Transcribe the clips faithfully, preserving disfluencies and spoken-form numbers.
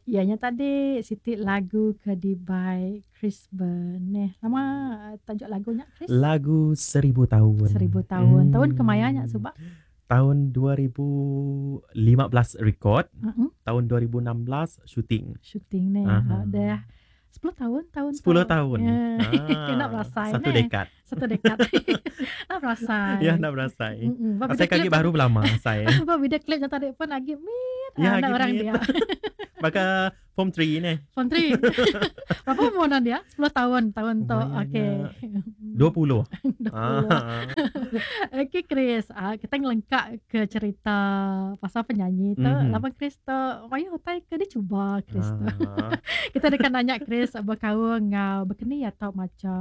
Iya nya tadi siti lagu ke dibai Chris Beneh. Nama tajuk lagu nya Chris? Lagu Seribu Tahun. Seribu Tahun. Tahun kemaya nya suba? Tahun dua ribu lima belas record, Uh-huh. tahun dua ribu enam belas shooting. Shooting ni. Uh-huh. Dah sepuluh tahun tahun sepuluh tahun. Ya. Ah, Kena berasai satu ne. dekad. Satu dekad. Nak berasai. Ya, nak berasai. Mm-mm. Ba Asai video kaki klip baru lama saya. Ba video klip yang tadi pun lagi mit. Ya, Ah, nak lagi orang mit. dia. Maka form tiga ni. Form tiga. Berapa umur dia? sepuluh tahun tahun tu. Okey. dua puluh. dua puluh. Ah. Okey Chris, ah, kita ngelengkap ke cerita pasal penyanyi tu. Mm-hmm. Lama Chris tu, mayu utai ke dia cuba Chris tu. Ah. Kita dekat nanya Chris berkaul ngau berkeni atau macam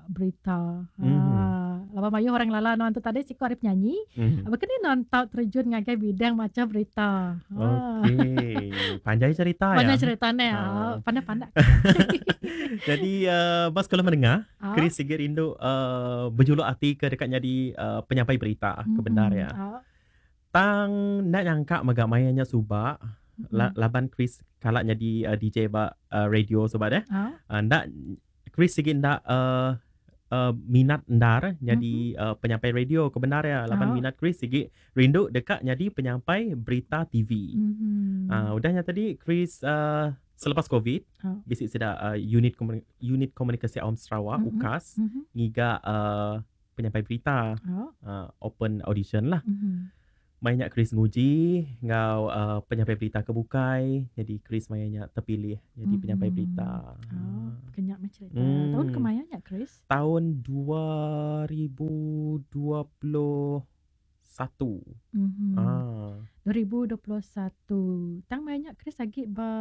berita. Mm-hmm. Ah, lama mayu orang lala non tu tadi siku hari penyanyi. Mm-hmm. Berkeni non tau terjun ngagai bidang macam berita. Ah. Okey, panjang cerita ya. Panjang cerita ni. Ah. Pandai-pandai. Jadi uh, bas sekolah menengah, Ah. Chris sige rindu uh, berjuluk hati ke dekat jadi uh, penyampai berita Mm-hmm. ke benar ya. Ah. Tang nak nyangka megak mayanya subak Mm-hmm. la, laban Chris kalak jadi uh, D J ba uh, radio subak deh. Ah. Uh, ndak Chris sige ndak uh, uh, minat ndar jadi Mm-hmm. uh, penyampai radio ke benar ya. Laban Ah. minat Chris sige rindu dekat jadi penyampai berita T V. Mm-hmm. Uh, udahnya tadi Chris uh, selepas COVID, Oh. bisik sudah uh, unit komuni- unit komunikasi awam Sarawak Mm-hmm. U K A S Mm-hmm. ngiga uh, penyampai berita Oh. uh, open audition lah. Mm-hmm. Mainnya Chris nguji ngau uh, penyampai berita ke bukai. Jadi Chris mainnya terpilih jadi Mm-hmm. penyampai berita. Oh, kenyak macam cerita. Mm. Tahun kemayanya Chris? Tahun dua ribu dua puluh satu. Mm-hmm. Ah. dua ribu dua puluh satu. Tang mainnya Chris lagi ba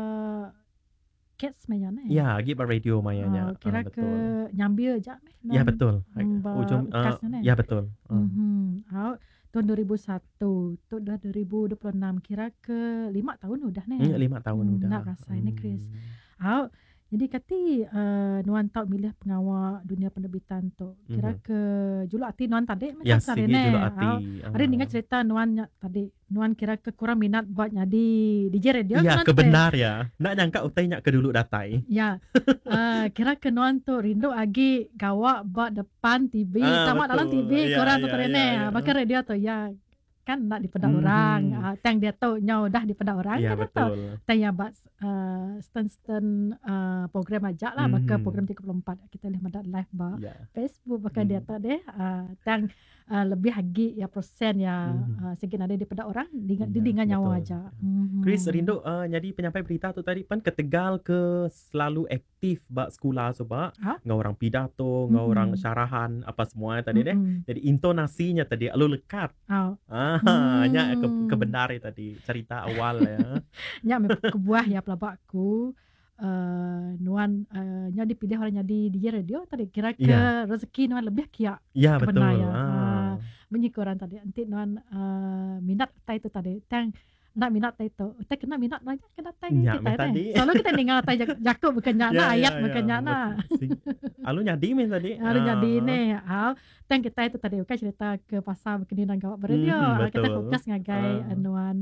Cats mainnya ne? Ya, lagi ba radio mainnya. Oh, kira ah, ke nyambil je meh. Ya betul. Ba Ujung uh, ukas ne? ya betul. Uh. Mm-hmm. Oh, tahun dua ribu satu, tu dah dua ribu dua puluh enam, kira ke lima tahun udah ne. Hmm, lima tahun Hmm, udah. Nak rasa ni Chris. Hmm. Oh, jadi kati uh, nuan tau milih pengawal dunia penerbitan tu. Kira Mm-hmm. ke juluk ati nuan tadi Ya, macam sigi ne. juluk ati. Oh, hari Ah. ninga cerita nuan nya tadi. Nuan kira ke kurang minat buat jadi D J radio. Ya, nuan kebenar ya. Nak nyangka utai nyak ke dulu datai. Ya. Uh, kira ke nuan tu rindu agi gawak buat depan T V, Ah, tamak dalam betul. T V Ya, kurang tu ya, terene. ya, ya. Bahkan radio tu ya kan nak dipedak Mhm. orang. Uh, tang dia tu nyau dah dipedak orang Ya, kan dia tu. betul. Tang yang buat uh, stand-stand uh, program ajak lah, Mhm. bakal program tiga puluh empat kita boleh mendak live ba Ya. Facebook bakal dia Mhm. tu deh. Uh, tang uh, lebih agi ya persen ya Mhm. uh, segi ada dipedak orang dengan Ya, didingan nyawa betul. aja. Mhm. Chris rindu uh, jadi penyampai berita tu tadi pan ketegal ke selalu aktif bak sekolah sebab Ha? ngau orang pidato, ngau Mhm. orang syarahan apa semua tadi deh. Mhm. Jadi intonasinya tadi lalu lekat. Oh. Ah, Hmm. nya ke, kebenar ya tadi cerita awal ya. Nya me kebuah ya pelabakku. Uh, nuan uh, nya dipilih orang jadi D J radio tadi kira ke Ya. rezeki nuan lebih kia Ya, betul. kebenar ya. Ah. Ah, bunyi ke orang tadi nanti nuan uh, minat tai tu tadi tang nak minat tai tu tai kena minat banyak kena tai Nyak kita meh ni. tadi. Selalu kita dengar tai jak- jakub bukan nyak Ya, nak ya, ayat ya. bukan nyak nak. Betul. Sing- Alu nyadi meh tadi. Alu nyadi Ah. ni. Ah, tang kita itu tadi bukan cerita ke pasal berkini dan gawat beradio. Mhm, Ah, kita betul. fokus ngagai Ah. nuan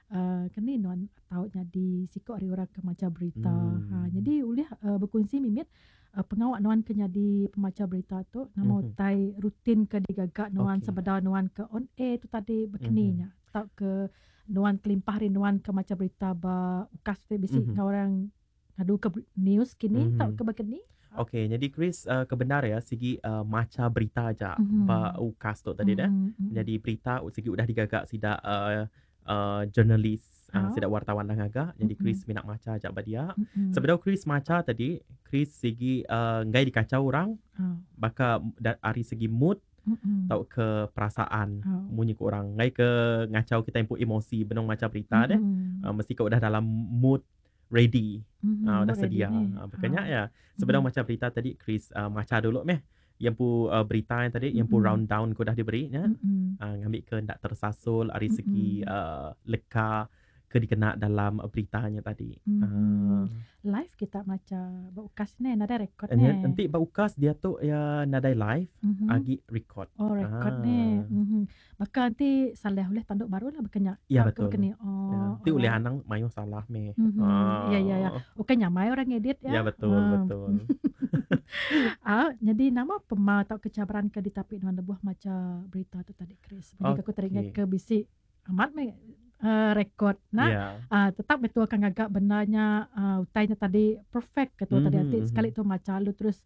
uh, kini nuan tau nyadi sikok hari orang ke maca berita. Hmm. Ha, jadi ulih uh, berkongsi mimit uh, pengawak nuan ke nyadi pemaca berita tu nama Mhm. utai rutin ke digagak nuan Okey. sebedau nuan ke on air tu tadi berkini Mhm. nya. Tau ke nuan kelimpah hari nuan ke maca berita ba ukas tu bisi Mhm. mm-hmm. orang ngadu ke news kini Mhm. tau ke berkini. Okey, jadi Chris uh, kebenar ya segi uh, maca berita aja Mhm. ba ukas tu tadi deh. Mhm. Jadi berita segi udah digagak sidak uh, uh, jurnalis, uh, Oh. sidak wartawan lah ngagak. Jadi Mhm. Chris minat maca aja ba dia. Mhm. Sebedau Chris maca tadi, Chris segi uh, ngai dikacau orang Oh. baka dari segi mood Mhm. tau ke perasaan Oh. munyi ke orang ngai ke ngacau kita input emosi benong maca berita deh. Mhm. Uh, mesti kau udah dalam mood ready. Mhm, Ah, udah mood ready sedia. ni. Ah, berkenyak Ah. ya. Sebelum Mhm. maca berita tadi Chris uh, maca dulu meh. Yang pu uh, berita yang tadi, yang pu Mhm. round down ko dah diberi nya. Mhm. Uh, ngambil ke ndak tersasul dari segi Mhm. uh, leka ke ke dikena dalam beritanya tadi. Mhm. Uh. Live kita maca ba ukas ne nadai rekod Nya ne. enti ba ukas diatu iya nadai live Mhm. agi record. Oh record ne. Ah. Mhm. Baka enti salah ulih tanduk baru lah baka nya. Ya Tauka betul. baka ni. Ya, Oh enti ulih alright. anang mayuh salah meh. Mhm. Ya ya ya. Ah. Ukai nyamai orang ngedit Ya ya. betul Ah. betul. Ah, jadi nama pema tauka cabaran ke ditapi nuan lebuh maca berita tu tadi Chris. Bagi aku teringat Okey. ke bisi amat meh uh, rekod nah. Ya. Uh, tetap betul akan ngagak benarnya uh, utainya tadi perfect ke tu tadi Mhm, ati mhm. sekali tu maca lu terus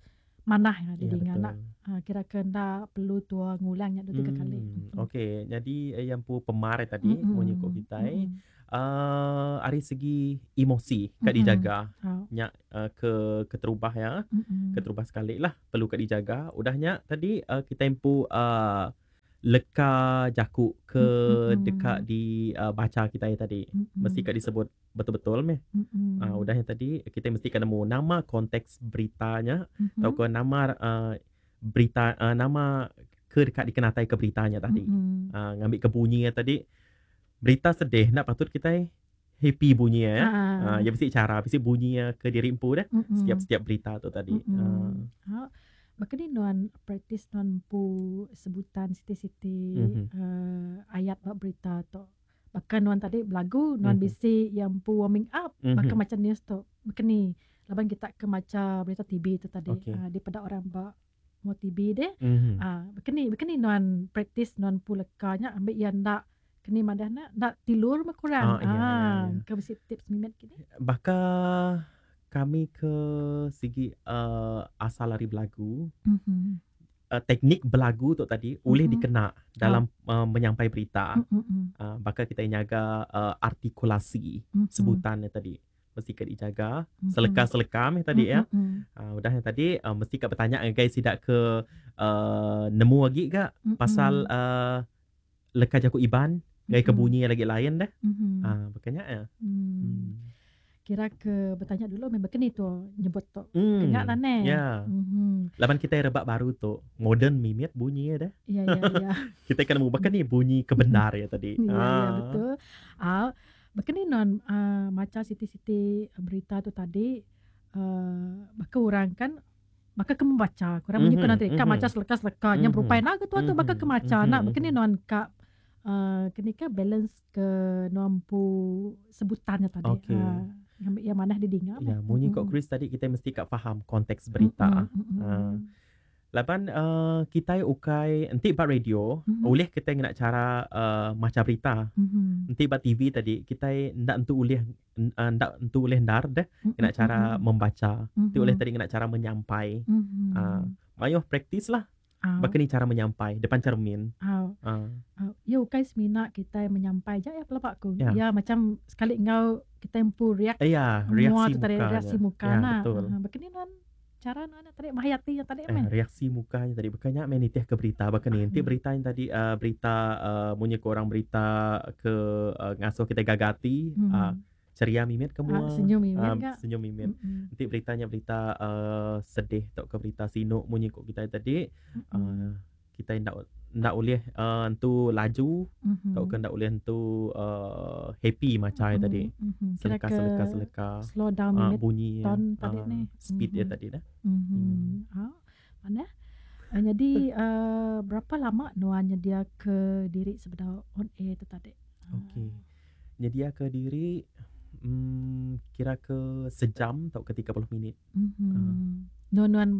manah ya Ya didinga nak betul. uh, kira ke nda perlu tua ngulangnya dua tiga kali. Hmm, Mhm. okey. Jadi eh, yang pu pemar tadi munyi ko Mm-mm. kitai Mm-mm. uh, ari segi emosi kat Mm-mm. dijaga. Oh. Nya uh, ke keterubah ya. Mm-mm. Keterubah sekali lah perlu kat dijaga. Udahnya tadi uh, kita empu uh, leka jaku ke Mm-mm. dekat di uh, baca kita tadi. Mm-mm. Mesti kat disebut betul-betul meh. Mm-mm. Uh, udahnya tadi kita mesti kena nemu nama konteks beritanya Mhm. atau ke nama uh, berita uh, nama ke dekat dikenatai ke beritanya tadi. Mm-mm. Uh, ngambil ke bunyi tadi berita sedih nak patut kita happy bunyi ya. Ah. Uh, ya mesti cara mesti bunyi ke diri empu dah Mm-mm. setiap-setiap berita tu tadi. Mm-mm. Uh, Ha. Baka ni nuan practice nuan pu sebutan siti-siti Mhm. uh, ayat bab berita tu. Bahkan nuan tadi belagu nuan Mhm. bisi yang pu warming up Mhm. baka macam news tu. Baka ni laban kita ke maca berita T V tu tadi Okey. uh, daripada orang ba mau T V deh. Mhm. Ah, baka ni baka ni nuan practice nuan pu lekanya ambil yang ndak kini madah nak ndak tilur mah kurang. Ah, ya, ya, Ah, ya. ke bisi tips mimet kini. Baka kami ke segi uh, asal lari belagu Mhm. uh, teknik belagu tu tadi boleh Mhm. dikena dalam uh, menyampai berita. Mm-mm. Uh, baka kita nyaga uh, artikulasi Mhm. sebutannya tadi mesti ke dijaga Mhm. seleka-seleka meh tadi ya. Mm-mm. Uh, udah yang tadi uh, mesti kat bertanya dengan guys tidak ke uh, nemu lagi gak Mm-mm. pasal uh, leka jaku iban gaya ke Mm-mm. bunyi lagi lain dah. Mhm. Ah uh, makanya ya. Hmm. Hmm. Kira ke bertanya dulu memang kini tu nyebut tu. Hmm. Kena lah ne. Ya. Mhm. Laban kita rebak baru tu modern mimit bunyi ya dah. Ya ya ya. Kita kena bahkan ni bunyi kebenar ya tadi. Ya ya Ah. betul. Ah bahkan ni non uh, maca siti-siti berita tu tadi uh, baka orang kan baka ke membaca kurang mm-hmm, Mhm, nanti kan mhm. maca seleka-seleka yang Mhm. berupai nak ke tu tu baka ke maca Mhm, nak baka ni mhm. non ka uh, kini ke balance ke nompu sebutannya tadi. Okey. Ah, yang yang mana didinga Ya, munyi kok Mm-mm. Chris tadi kita mesti kat faham konteks berita. Mm-mm, mm-mm. Ah. Laban uh, kita ukai enti bak radio, Mhm. oleh kita ngena cara uh, maca berita. Mhm. Enti bak T V tadi kita ndak entu ulih uh, ndak entu ulih ndar dah Mm-mm, ngena cara mm-mm. membaca. Enti Mhm. ulih tadi ngena cara menyampai. Mhm. Ah, mayuh praktis lah. Ah. Baka ni cara menyampai depan cermin. Ah. Ah. Ah, ya ukai semina kita menyampai je ya pelabak aku. Ya. Ya macam sekali ngau kita empu react Eh, ya, mua reaksi tu tadi mukanya. reaksi muka Ya, nah. betul. Ah, baka ni non cara non tadi mahayati yang tadi Eh, meh. reaksi mukanya tadi bukannya main nitih ke berita bahkan ni nanti Hmm. berita yang tadi uh, berita uh, munyi ke orang berita ke uh, ngasuh kita gagati Hmm. uh, ceria mimit ke Ah, mua senyum mimit Ah, kak. senyum mimit Mm-mm. nanti beritanya berita uh, sedih atau ke berita sinuk munyi kok kita tadi Mm-mm. uh, kita ndak ndak boleh uh, entu laju Mhm. atau ke ndak boleh entu uh, happy macam Mm-mm. tadi Mhm. Kira seleka ke seleka seleka slow down uh, mimit bunyi tone tadi uh, ni. speed dia Mhm. tadi dah. Mhm. Hmm. Ah, mana? Uh, jadi uh, berapa lama nuannya dia ke diri sebenar on air tu tadi? Ah. Okey. Jadi dia ke diri hmm, kira ke sejam atau ke tiga puluh minit. Mhm. Ah. Nuan nuan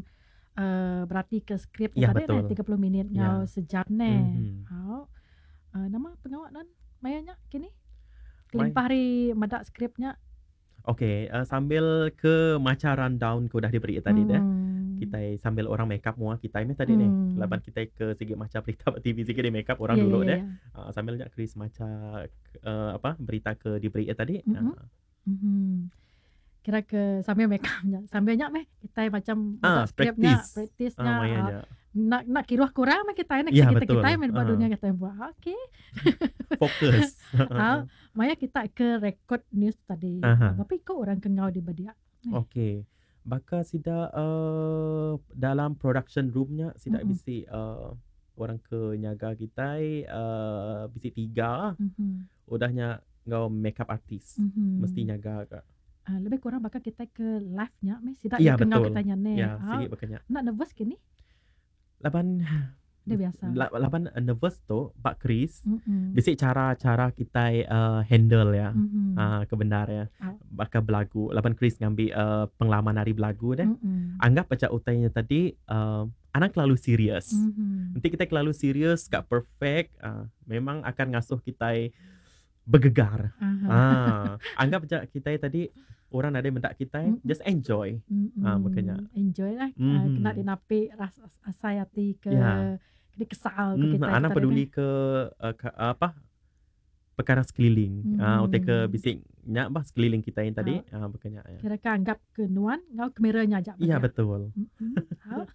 uh, berarti ke skrip Ya, tadi betul. ne tiga puluh minit Ya. ngau sejam ne. Mhm. Hau. Uh, nama pengawak nan mayanya kini? Kelimpah hari madak skripnya. Okey, uh, sambil ke maca rundown ke udah diberi tadi dah. Hmm. Kita sambil orang make up mua kita ni tadi ni. Hmm. Laban kita ke segi maca berita T V segi di make up orang Ya, dulu ya, dah. ya. Uh, sambil nyak Chris maca uh, apa berita ke diberi tadi. Mhm. Uh, Mhm. Kira ke sambil make upnya. Sambil nyak meh kita macam Ah, madak skripnya, practice. praktisnya. Ah, mayanya. Nak nak kiruh kurang meh kita nak Ya, kita betul. kita main buat Ah. dunia kita buat. Okey. Fokus. Ah, maya kita ke record news tadi. Aha. Tapi kok orang ke ngau di badia. Okey. Baka sida uh, dalam production roomnya sida Mm-mm. bisi uh, orang ke nyaga kita uh, bisi tiga. Mhm. Udahnya Ngau makeup artist. Mhm. Mesti nyaga ka. Ah, lebih kurang bakal kita ke live nya meh sidak Ya, ke ngau betul. kita nya ne. Ya, Ah, sigi bakanya. nak nervous kini? Laban Dia biasa. la- laban uh, nervous tu Pak Chris Mm-mm. bisi cara-cara kita uh, handle ya. Mhm. Ah, kebenar ya. Ah. Bakal belagu. Laban Chris ngambil uh, pengalaman hari belagu deh. Mm-mm. Anggap aja utainya tadi uh, anak terlalu serius. Mhm. Nanti kita terlalu serius, gak perfect, uh, memang akan ngasuh kita bergegar. Aha. Ah, anggap aja kita tadi orang ada mendak kita, Mm-mm. just enjoy. Mm-mm. Ah, makanya. Enjoy lah. Ah, Mhm. kena dinapi rasa asai hati ke Ya. kena kesal ke Hmm, kita. anak kita peduli ke, uh, ke apa perkara sekeliling. Ah, Mhm. utai ke bisik nyak bah sekeliling kita yang tadi. Ah, makanya ya. Kira ke anggap ke nuan ngau kameranya aja. Iya betul. Mm-mm. Ah.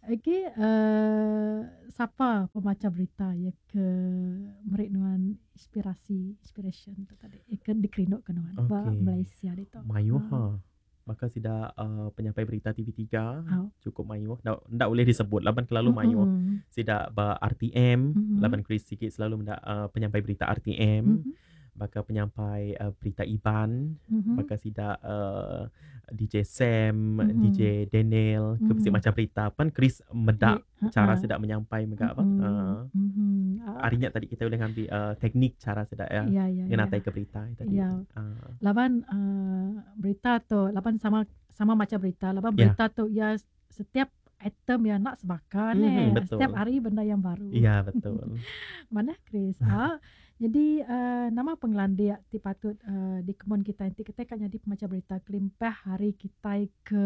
Okey, uh, siapa pembaca berita ya ke merik nuan inspirasi inspiration tu tadi ya ke dikerinuk ke nuan ba Okey. Malaysia itu. Mayuh Ah. ha. Maka sida uh, penyampai berita T V tiga Ah. cukup mayuh. Ndak ndak boleh disebut laban terlalu mayuh. Mm-mm. Sida ba R T M, Mhm. laban Chris sikit selalu mendak uh, penyampai berita R T M, Mhm. baka penyampai uh, berita Iban, Mhm. baka sida uh, D J Sam, Mhm. D J Daniel, ke bisi Mhm. macam berita pan Chris medak Eh, cara ha-ha. sedak menyampai mega apa. Mm-mm. Uh, Mhm. Ah. harinya tadi kita boleh ngambil uh, teknik cara sedak ya. Ya, ya, ya. Ngenatai ke berita tadi. Ya. Uh, Laban uh, berita tu laban sama sama macam berita laban Ya. berita tu ya setiap item yang nak sebakar Mhm, ne. betul. Setiap hari benda yang baru. Ya betul. Mana Chris? Ah, jadi uh, nama penglandia ti patut uh, di kemon kita nanti kita kan jadi pembaca berita kelimpah hari kita ke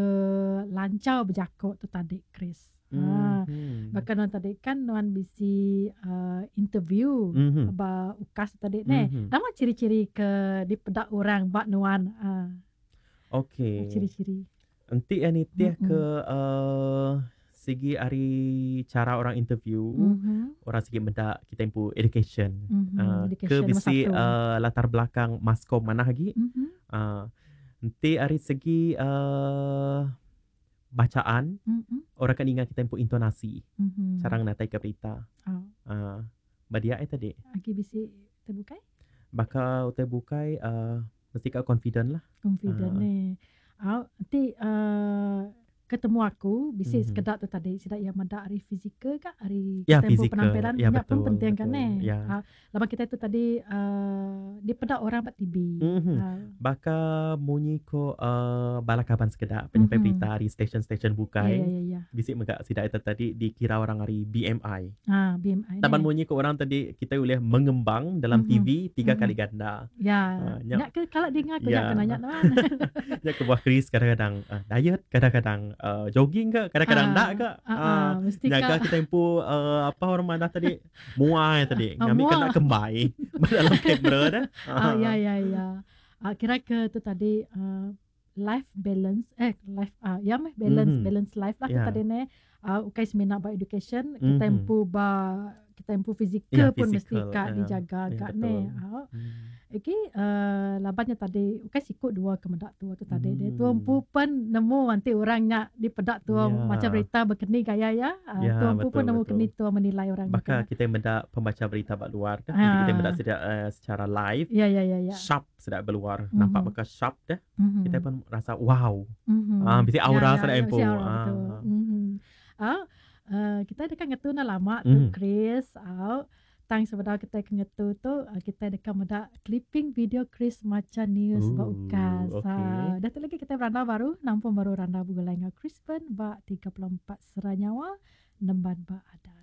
lancau berjakok tu tadi Chris. Ah, Mhm. bahkan nuan tadi kan nuan bisi uh, interview Mhm. ba ukas tadi ne. Mhm. Nama ciri-ciri ke di pedak orang bak nuan ah, Okey. ciri-ciri. Enti yang nitih Mm-mm. ke uh, segi hari cara orang interview, Mhm. orang segi mendak kita impu education. Mhm. Uh, Education ke nombor bisi satu. uh, latar belakang maskom mana lagi? Mhm. Uh, enti hari segi uh, bacaan, Mhm. orang kan ingat kita impu intonasi, Mhm. cara ngatai ke berita. Ah, Uh, badia eh tadi. agi bisi terbukai? Bakal utai bukai uh, mesti kau confident lah. Confident Ah. ni. Ah, nanti uh, ketemu aku bisi Mhm. sekedar tu tadi sidak yang medak hari fizikal kak hari Ya, kita pun fizikal. penampilan Ya, nya pun betul, penting kan betul. eh. Ya. Ah, laban kita tu tadi uh, di pedak orang pak T V. Mhm. Ah, Baka munyi ko uh, balakaban sekedak penyampai Mhm. berita hari stesen-stesen ya bukai. ya ya ya. Bisik megak sidak itu tadi dikira orang hari B M I. Ah, B M I. Taban ni. munyi ko orang tadi kita boleh mengembang dalam Mhm. T V tiga Mhm. kali ganda. Ya. Ah, nyak Nyak ke kalau dengar aku Ya. nyak kena nyak teman. Nyak ke buah Chris kadang-kadang uh, diet, kadang-kadang uh, jogging ke, kadang-kadang Ah, tak ke. Ah, Ah, ah, mesti Jaga kak. kita tempo uh, apa orang mana tadi muai tadi Ah, ngambil muah. kena kembai dalam kamera dah. Ah, ya ya ya. Ah, kira ke tu tadi uh, life balance eh life ah ya meh balance Mhm. balance life lah tu Ya. tadi ne. Ah, ukai semina ba education kita Mhm. empu ba kita empu fizikal Ya, pun mesti fizikal, kak ya. dijaga Ya, kak ne. betul. Ah, Hmm. okey uh, labannya tadi ukai sikut dua ke medak tua tu tadi dia Hmm. tua empu pun nemu nanti orangnya di pedak tua Ya. macam berita berkeni gaya ya. Ah, Ya, tua empu pun betul, nemu betul. keni tua menilai orang Bahkan gitu. kita mendak pembaca berita bak luar dah. Jadi kita Ah. mendak sedia, uh, secara live Ya ya ya ya. sharp sedap berluar. Nampak Mhm. bakal sharp dah. Mhm. Kita pun rasa wow. Mhm. Ah, mesti Ya, aura ya, sedap ya, empu. mesti aura, Ah. betul. Mhm. Ah, uh, kita dekat ngetu na lama tu Mhm. Chris. Ah, tang sebenar kita ke ngetu tu ah, kita dekat medak clipping video Chris maca news ba Ooh, ukas. okey. Ah, dah tu lagi kita beranda baru, nampun baru randa bugulai ngau Chris Ben ba tiga puluh empat Seranyawa nemban ba ada.